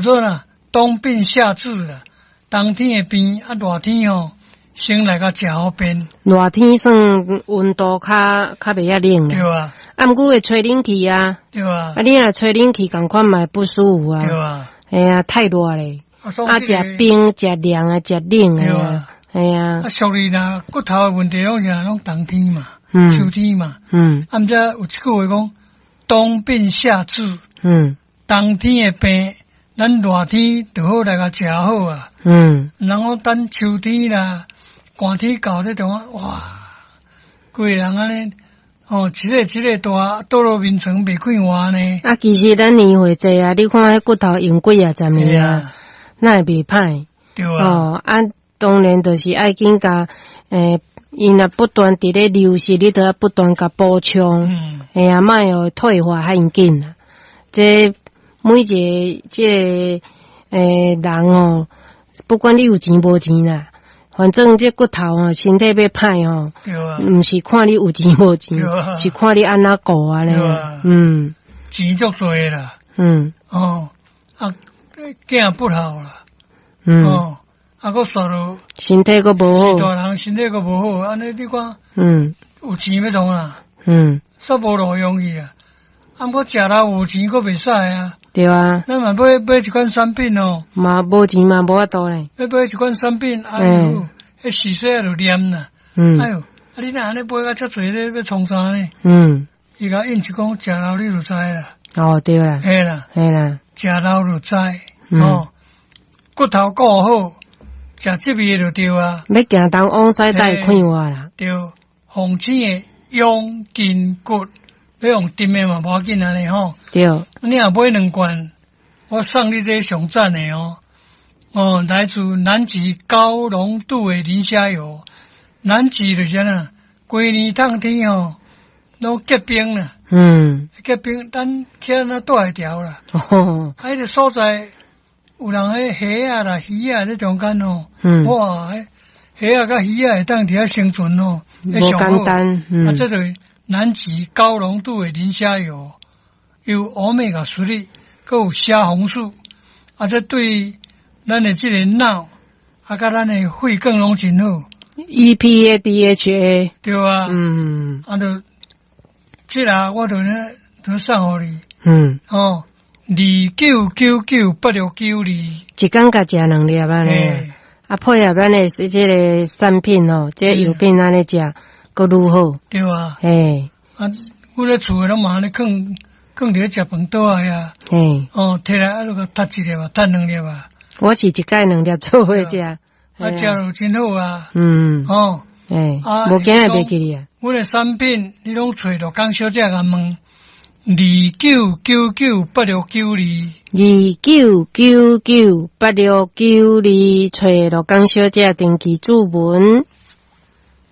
做啦，冬病夏治啦，冬天的病啊，熱天吼，先來共食予便。熱天算溫度較袂遐冷。對啊。啊，毋過會吹冷氣啊。對啊。啊，你若吹冷氣仝款嘛會不舒服啊。對啊。嘿啊，太熱咧。啊，食冰、食涼啊，食冷啊。嘿啊。啊，俗語若骨頭的問題攏是攏冬天嘛，秋天嘛。啊，毋知有一句話講，冬病夏治。冬天的病，咱熱天就好來共食好啊。毋通講等秋天啦，寒天到這種啊，哇，規个人按呢，哦，一个一個大倒落眠床袂快活呢。啊，其實咱年歲濟啊，你看彼骨頭用幾仔十年啊，哪會袂歹？對啊。哦，啊，當然就是愛緊共，伊若不斷佇咧流失，你著愛不斷共補充。嘿啊，莫予退化遐緊啊。這每一個這个人哦，不管你有錢無錢啦，反正這骨頭哦，身體欲歹哦，毋是看你有錢無錢，是看你按怎顧按呢。錢足濟啦。哦，啊，囝不好啦。哦，啊，閣煞落身體閣無好。大人身體閣無好，按呢你看，有錢欲創啊？煞無路用去啊！啊，毋過食老有錢閣袂使啊。對啊。咱嘛買買一款產品哦。嘛無錢嘛無法度咧。欲買一款產品，哎喲，彼時勢就念啦。哎喲，啊你若按呢買甲遮濟咧，欲創啥呢？伊共應一講，食老你就知啦。哦，對啦。嘿啦。嘿啦。食老就知，哦，骨頭顧好，食這味就對啊。欲行東往西才會快活啦。對，鳳青的養筋骨，欲用甜的嘛無要緊按呢吼。對。你若買兩罐，我送你這上讚的哦。哦，來自南極高濃度的磷蝦油。南極就是按怎，規年冬天吼，攏結冰啦。結冰，咱去那住會牢啦。啊，彼個所在有人彼蝦仔啦、魚仔這中間吼。哇，蝦仔佮魚仔會當佇遐生存吼，無簡單。啊，這就是南極高濃度的磷蝦油，有歐米伽3，閣有蝦紅素，啊，這對咱的這個腦，啊，佮咱的血管攏真好。 EPA DHA。對啊。啊，就這個我就呢，就送予你。哦，29998692。一工共食兩粒按呢。啊，配合咱的這個產品哦，這個藥品按呢食，閣愈好。對啊。嘿。啊，阮咧厝的攏嘛按呢囥囥佇咧食飯桌仔遐。哦，提來啊，就共踢一粒啊，踢兩粒啊。我是一擺兩粒做伙食。啊，食就真好啊。哦。欸，無驚會袂記哩啊。阮的產品，你攏揣陸江小姐共問，29998692。29998692，揣陸江小姐登記注文。